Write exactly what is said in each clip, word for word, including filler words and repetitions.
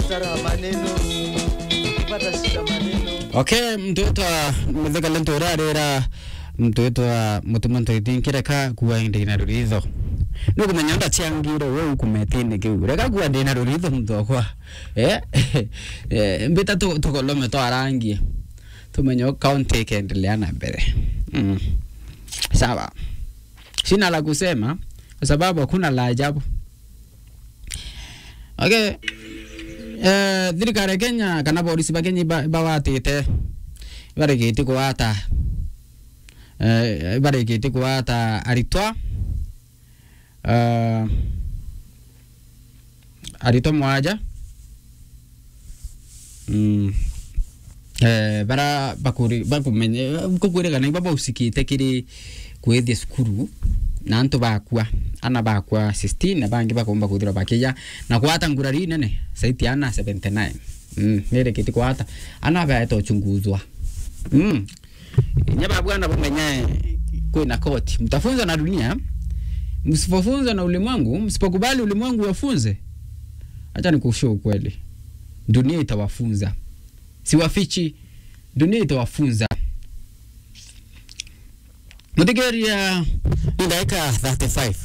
Tara maneno. Pata shida maneno. Okay, mtu witwa Muthika Lento urarira, mtu witwa Mutuma Ntoithi, nkireka kuwa indi na ruritho. Nukumenya ndachiangire we ukumetine kiu. Reka kuwa ndi na ruritho muntu wakwa. Eh? Eh, mbita tu-, tukolome twarangie. Tumenye county ikaendelea na mbere. Mm. Sawa. Sina la kusema kwa sababu hakuna la ajabu. Okay. Eh, thirikari ya Kenya kana borisi ba Kenya iba-, ibawatite, ibarikite kuwata, eh, ibarikite kuwata aritwa, eh, aritwa mwaja. Mm. Eh, bara bakuri-, bakumenye, kukwirikana iba bausikite kiri kwithia cukuru, na antu bakua, ana bakua sixteen, na bangi bakomba kwithirwa bakiya, na kwata ngurari nene, saiti ana seventy nine. Mm, nirikiti kwata, ana baeta uchunguzwa. Mm. Inya babwana bumenye kwina koti. Mtafunzwa na dunia, msipofunzwa na ulimwengu, msipokubali ulimwengu wafunze, acha nikushow ukweli. Dunia itawafunza. Siwafichi, dunia itawafunza. Mutigeria ni ndagika thirty-five.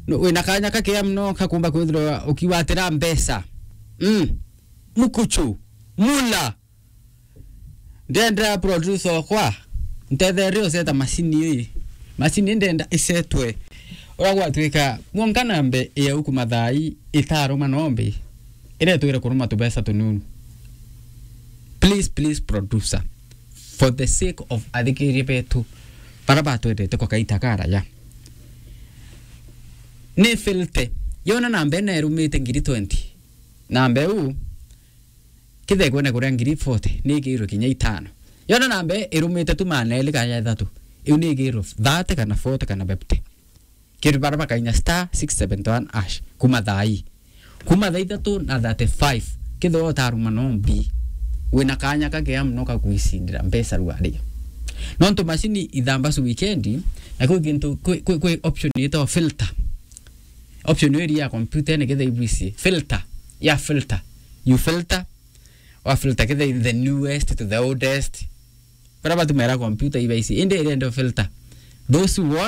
No, wina kanya kakea muno kakumba kwithirwa ukiwatira mbeca. Mm. Mukuchu, mula. Ndenda producer okwa, ntetherie useta macini ii. Macini ndenda isetwe. Uria gwatuika, mwonka nambe ya uku mathaa ii itaruma nombi, iretwire kuruma tubeca tununu. Please, please, producer, for the sake of athikiria betu, bara batwendete kwa kaita karaya. Ni filter. Yona nambe nerumite ngiri twenty. Nambe u, kithegwe na kuria ngiri forty, ni igirwe kinya itano. Yona nambe irumite tu maneli kana ithatu. Iu ni igirwe thirty kana forty kana fifty. Kiri bara bakainya star six seventy one hash. Kuma thaa ii. Kuma thaa ithatu na thirty-five. Kithwa utaruma nombi. Wina kanya kakea muno ka kwisindira mbeca rwaria. Nontu macini ithamba su weekend, na kwi kintu, kwi, kwi, kwi option yitwa filter. Option iri ya computer ni kithwa ibwisi. Filter. Ya filter. You filter. Wa filter kithwa the newest to the oldest. Bara batumira computer ibaisi. Indi irenda filter. Those who want